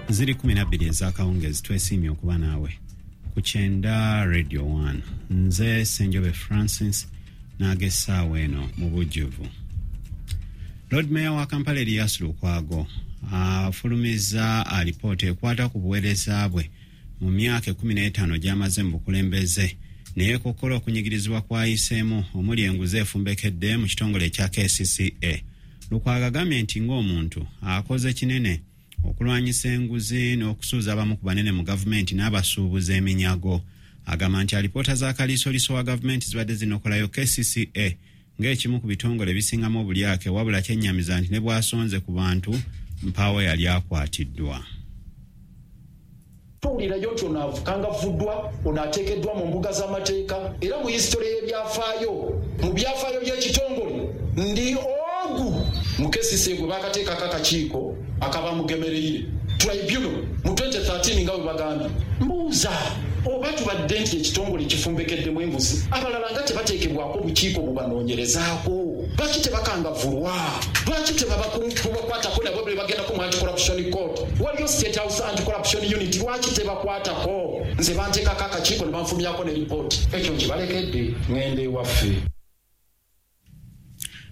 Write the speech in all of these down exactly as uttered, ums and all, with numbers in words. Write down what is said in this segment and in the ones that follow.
Ziri kumi na bbiri ez'akawungeezi, twesiimye okuba naawe ku Kyenda Radio one. Nze Ssenjobe Francis n'ag'essaawa eno mu bujjuvu. Lord Mayor wa Kampala Erias Lukwago afulumizza alipoota ekwata ku buweereza bwe mu myaka ekkumi n'etaano gy'amaze mu bukulembeze, naye ekokkola okunyigirizibwa kw'ayiseemu omuli enguzi efumbekedde mu kitongole ekya K C C A. Lukwago agambye nti ng'omuntu akoze kinene okulwanyisa enguzi n'okusuuza abamu ku banene mu gavumenti n'abasuubuza eminyago. Agamba nti alipoota za kaliisoliiso wa gavumenti zibadde zinokolayo K C C A ng'ekimu ku bitongole ebisingamu obulyake, wabula kyennyamiza nti ne bw'asonze ku bantu mpaawo yali akwatiddwa. Tuwulirayo nti ono akangavuddwa, ono ateekeddwa mu mbuga z'amateeka, era mu history y'ebyafaayo, mu byafaayo by'ekitongole ndi ogu mu K C C A gwe bakateekako akakiiko akabamugemereire tribunal mu twenty thirteen nga bwe bagambye. Mbuuza oba tubadde nti ekitongole kifumbekeddemu enguzi, abalala nga tebateekebwako obukiiko bubanoonyerezaako, lwaki tebakangavulwa, lwaki tebabakwatako nabo bwe bagendako mu anti-corruption court, waliyo State House anti-corruption unit, lwaki tebakwatako? Nze banteekako akakiiko ne banfumyako ne ripooti. Ekyo nkibalekedde, ŋŋende ewaffe.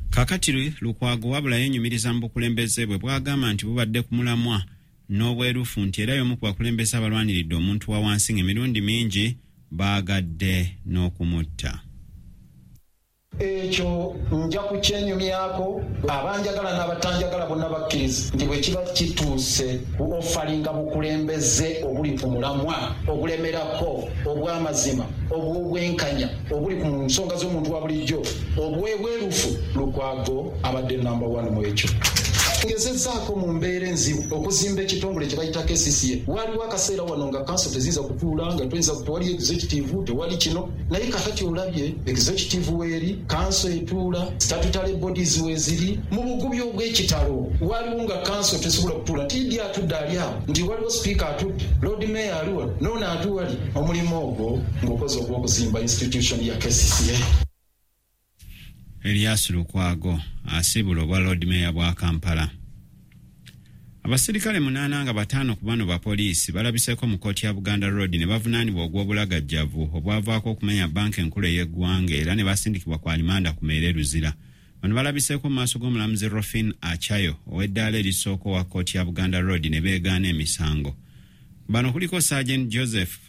Kaakati Lukwago wabula yeenyumiriza mu bukulembeze bwe bw'agamba nti bubadde ku mulamwa n'obwerufu, nti era y'omu ku bakulembeze abalwaniridde omuntu wa wansi ng'emirundi mingi baagadde n'okumutta. Ekyo nja kukyenyumyako, abanjagala n'abatanjagala bonna bakkiriza nti bwe kiba kituuse ku ofalinga bukulembeze obuli ku mulamwa, obulemerako, obw'amazima, obw'obwenkanya, obuli ku nsonga z'omuntu wa bulijjo, obw'ebwerufu, Lukwago abadde number one mu ekyo. Ngezezzaako mu mbeera enzibu okuzimba ekitongole kye bayita K C C A. Waliwo akaseera wano nga council teziyinza kutuula, nga tuyinza tewali executive, tewali kino, naye kakati olabye executive weeri, council etuula, statutory bodies weeziri. Mu bugubi obw'ekitalo waliwo nga council tesobola kutuula, nti Idi atudde ali awo, nti waliwo speaker atudde, Lord Mayor ali wano, n'ono atuwali. Omulimu ogwo ng'okoze ogw'okuzimba institution ya K C C A. Erias Lukwago asiibula obwa Lord Mayor bwa Kampala. Abasirikale munaana nga bataano ku bano ba poliisi balabiseeko mu kkooti ya Buganda Road ne bavunaanibwa ogw'obulagajjavu obwavaako okumenya bbanka enkulu ey'eggwanga era ne basindikibwa ku alimanda ku Meere Luzira. Bano balabiseeko mu maaso g'omulamuzi Rofin Achayo ow'eddaala erisooka owa kkooti ya Buganda Road ne beegaana emisango. Bano kuliko Sergeant Joseph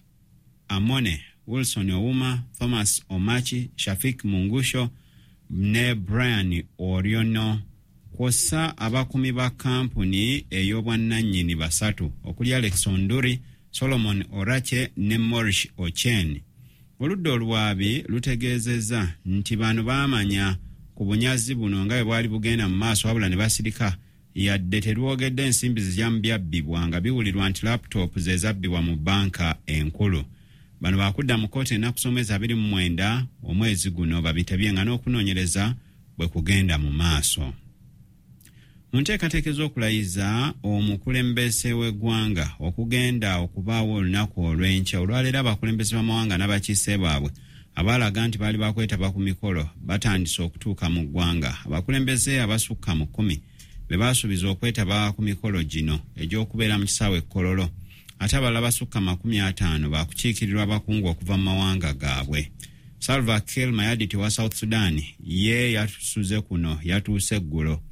Amone, Wilson Ouma, Thomas Omachi, Shafik Mungusho ne Brian Oriono, kw'ossa abakuumi ba kampuni ey'obwannannyini basatu okuli Alex Onduri, Solomon Orache ne Maurice Ochen. Oludda oluwaabi lutegeezezza nti bano baamanya ku bunyazi buno nga bwe bwali bugenda mu maaso, wabula ne basirika yadde terwogedde ensimbi zijja byabbibwa nga biwulirwa nti laptop ze zabbibwa mu bbanka enkulu. Bano baakudda mu kkooti ennaku z'omwezi abiri mu mwenda omwezi guno babitebye nga n'okunoonyereza bwe kugenda mu maaso. Mu nteekateeka ez'okulayiza omukulembeze w'eggwanga okugenda okubaawo olunaku olw'enkya, olwaleero abakulembeze b'amawanga n'abakiise baabwe abaalaga nti baali bakwetaba ku mikolo batandise okutuuka mu ggwanga. Abakulembeze abasukka mu kkumi be baasuubiza okwetaba ku mikolo gino egy'okubeera mu kisaawe e Kololo, ate abalala basukka makumi ataano baakukiikirirwa abakungu okuva mu mawanga gaabwe. Salva Kiir Mayardit wa South Sudan ye yatusuze kuno yatuuse eggulo.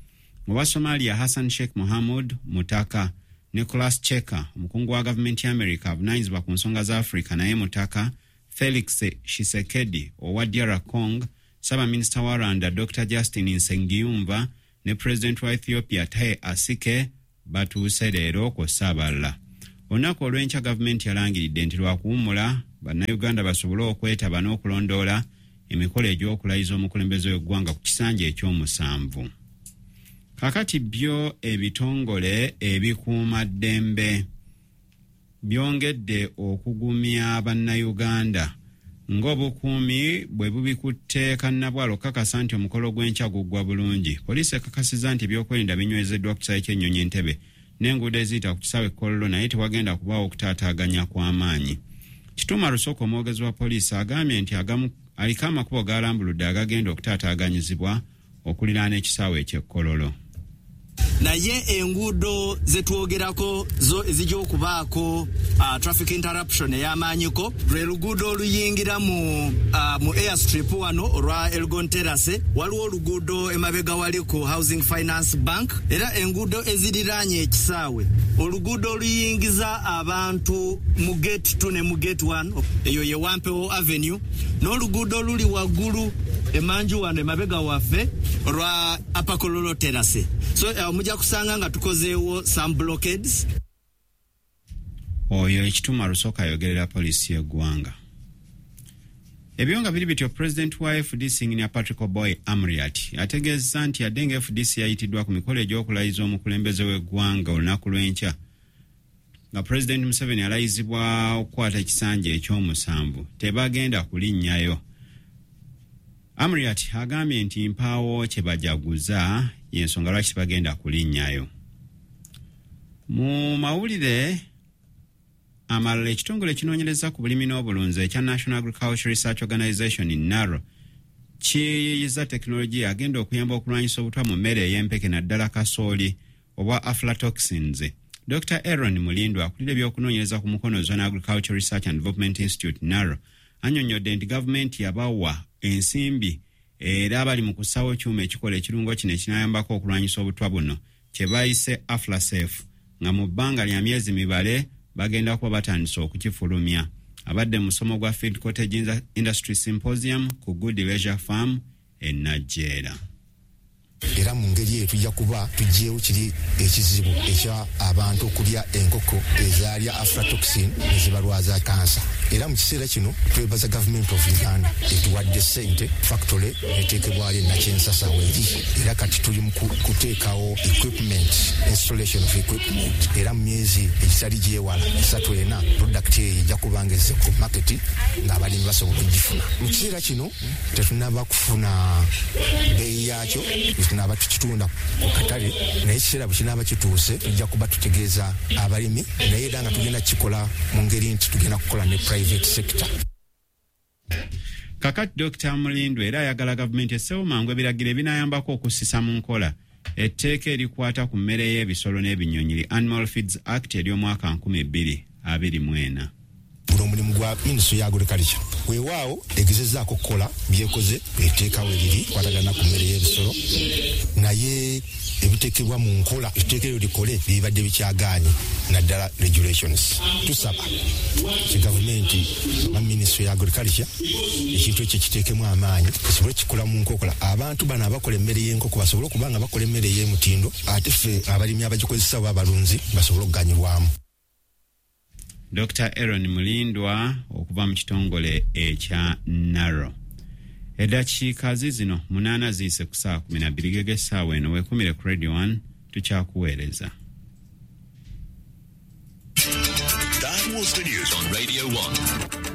Owa Somalia Hassan Sheikh Mohamud Mutaka, Nicholas Cheka omukungu wa gavumenti ya America avunaanyizibwa ku nsonga za Africa naye Mutaka, Felix Tshisekedi owa D R Congo, Ssaabaminisita wa Rwanda Doctor Justin Nsengiyumva ne President wa Ethiopia Taye Asike batuuse leero kw'ossa abalala. Olunaku olw'enkya gavumenti yalangiridde nti lwakuwummula bannayuganda basobole okwetaba n'okulondoola emikolo egy'okulayiza omukulembeze w'eggwanga ku kisanja eky'omusanvu. Kaakati byo ebitongole ebikuumaddembe byongedde okugumya bannayuganda ng'obukuumi bwe bubikutte kannabwalo okukakasa nti omukolo gw'enkya guggwa bulungi. Poliisi ekakasizza nti ebyokwerinda binywezeddwa ku kisaawe ky'ennyonyi Entebbe n'enguudo eziyita ku kisaawe Kololo, naye tewagenda kubaawo okutaataaganya kw'amaanyi. Kituuma Lusoko omwogezi wa poliisi agambye nti agamu aliko amakubo g'alambuludde agagenda okutaataaganyizibwa okuliraana ekisaawe eky'e Kololo. Naye enguudo zetwogerako zo ezijja okubaako uh, traffic interruption ey'amaanyiko lwe luguudo oluyingira mu, uh, mu airstrip wano olwa Elgon Terrace, waliwo oluguudo emabega wali ku Housing Finance Bank, era enguudo eziriraanye ekisaawe, oluguudo oluyingiza abantu mu gate two ne mu gate one, eyo ye Wampewo Avenue, n'oluguudo oluli waggulu emanju wano emabega waffe olwa Upper Kololo Terrace. So uh, mujja kusanga nga tukozeewo some blockades. Oyo Ekituma Rusooka ayogerera poliisi y'eggwanga. Ebyo nga biri bityo, pulezidenti wa F D C Engineer Patrick Oboi Amuriat ategeezza nti yadde nga F D C yayitiddwa ku mikolo egy'okulayiza omukulembeze w'eggwanga olunaku lw'enkya nga Pulezidenti Museveni alayizibwa okukwata ekisanja ekyomusanvu, tebagenda kulinnyayo. Amuriat agambye nti mpaawo kye bajaguza, y'ensonga lwaki tebagenda kulinnyayo. Mu mawulire amalala, ekitongole ekinoonyereza ku bulimi n'obulunzi ekya National Agriculture Research Organization, NARO, kiyiiyiza tekinologiya agenda okuyamba okulwanyisa obutwa mu mmere ey'empeke naddala kasooli obwa aflatoxins. Doctor Aaron Mulindwa, akulira ebyokunoonyereza ku Mukono Zone Agriculture Research and Development Institute, NARO, annyonnyodde nti gavumenti yabawa ensimbi era bali mu kussawo kyuma ekikola ekirungo kino ekinayambako okulwanyisa obutwa buno kye bayise Aflasafe, nga mu bbanga lya myezi mibale bagenda kuba batandise okukifulumya. Abadde mu musomo gwa Feed Cottage Industry Symposium ku Good Leisure Farm e Najjeera. Era mu ngeri eyo tujja kuba tuggyewo kiri ekizibu ekya abantu okulya enkoko ezaalya aflatoxin ne zibalwaza kansa. Era mu kiseera kino twebaza Government of Uganda etuwadde ssente, factory eteekebwayo Nakyensasa weeri, era kati tuli mu kuteekawo equipment, installation of equipment, era mu myezi egitali gyewala esatu ena product eyo ejja kuba nga ezze ku market ng'abalimi basobola okugifuna. Mu kiseera kino tetunaba kufuna bbeeyi yaakyo, tunaaba tukitunda ku katale, naye ekiseera bwe kinaaba kituuse tujja kuba tutegeeza abalimi, naye era nga tugenda kukikola mu ngeri nti tugenda kukola ne private sector. Kakati Doctor Mulindwa era ayagala gavumenti essewo mangu ebiragiro ebinayambako okussisa mu nkola etteeka erikwata ku mmere y'ebisolo n'ebinyonyi, li Animal Feeds Act ery'omwaka nkumi bbiri abiri mu ena. Guno omulimu gwa Ministry ya Agriculture. Weewaawo egezezzaako okukola byekoze, etteekawo eriri kwatagana ku mmere y'ebisolo, naye ebiteekebwa mu nkola etteeka eryo likole bibadde bikyagaanye, naddala regulations. Tusaba ki gavumenti oba Ministry ya Agriculture ekintu ekyo kiteekemu amaanyi esobole kikola mu nkokola, abantu bano abakola emmere y'enkoko basobole okuba nga bakola emmere ey'emutindo, ate ffe abalimi abagikozesa oba abalunzi basobole okuganyulwamu. Doctor Aaron Mulindwa okuva mu kitongole ekya NARO. Eddakiika zizino munaana ziyise ku ssaawa kumi na bbiri gege essaawa eno. Weekumire ku Radio one, tukyakuweereza. That was the news on Radio one.